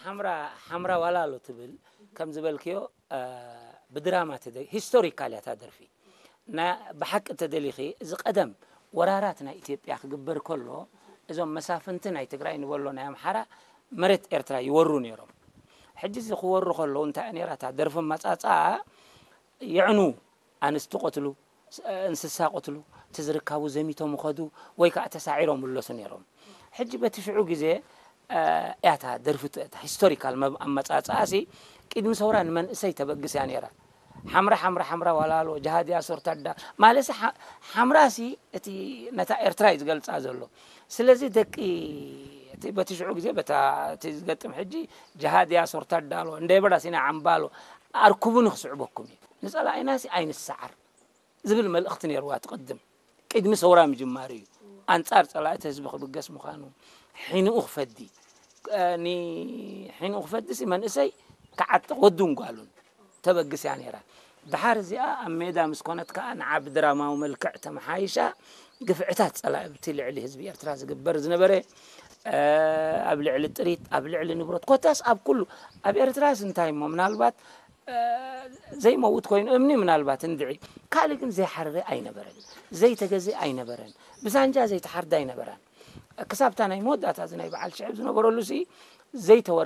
ሓምራ ሓምራ ዋላሎ ትብል ከም ዝበልክዮ ብድራማ ሂስቶሪካል እያ እታ ደርፊ። ብሓቂ ተደሊኺ እዚ ቀደም ወራራት ናይ ኢትዮጵያ ክግበር ከሎ እዞም መሳፍንቲ ናይ ትግራይ ንበሎ ናይ ኣምሓራ መሬት ኤርትራ ይወሩ ነይሮም። ሕጂ እዚ ክወሩ ከለዉ እንታይ ነራ እታ ደርፊ መጻጻ የዕኑ ኣንስቲ ቆትሉ፣ እንስሳ ቆትሉ፣ እቲ ዝርካቡ ዘሚቶም ኸዱ ወይ ከዓ ተሳዒሮም ምለሱ ነይሮም። ሕጂ በቲ ሽዑ ግዜ ያታ ደርፊ ሂስቶሪካል ኣመፃፅኣሲ ቅድሚ ሰውራ ንመንእሰይ ተበግስ እያ ነይራ። ሓምራ ሓምራ ሓምራ ዋላሎ ጃሃድያ ሶርታዳ ማለሲ ሓምራሲ እቲ ነታ ኤርትራ እዩ ዝገልፃ ዘሎ። ስለዚ ደቂ እቲ በቲ ሽዑ ግዜ በታ እቲ ዝገጥም ሕጂ ጃሃድያ ሶርታዳ ኣሎ እንደ በዳ ሲና ዓምባሎ ኣርኩቡኒ ክስዕበኩም እዩ። ንፀላኢናሲ ኣይንሰዓር ዝብል መልእኽቲ ነይርዋ ትቕድም ቅድሚ ሰውራ ምጅማሩ እዩ። ኣንጻር ጸላእቲ ህዝቢ ክብገስ ምዃኑ ሒንኡ ክፈዲ ሒንኡ ክፈዲ ሲ መንእሰይ ክዓጥቕ ወዱን ጓሉን ተበግስ እያ ነይራ። ድሓር እዚኣ ኣብ ሜዳ ምስ ኮነት ከኣ ንዓ ብድራማዊ መልክዕ ተመሓይሻ ግፍዕታት ጸላእቲ ልዕሊ ህዝቢ ኤርትራ ዝግበር ዝነበረ ኣብ ልዕሊ ጥሪት ኣብ ልዕሊ ንብረት ኮታስ ኣብ ኩሉ ኣብ ኤርትራስ እንታይ እሞ ምናልባት ዘይመውት ኮይኑ እምኒ ምናልባት እንድዒ ካልእ ግን ዘይሓረረ ኣይነበረን፣ ዘይተገዘ ኣይነበረን፣ ብሳንጃ ዘይተሓርደ ኣይነበረን። ክሳብታ ናይ መወዳእታ እዚ ናይ በዓል ሽዕብ ዝነበረሉ ሲ ዘይተወረ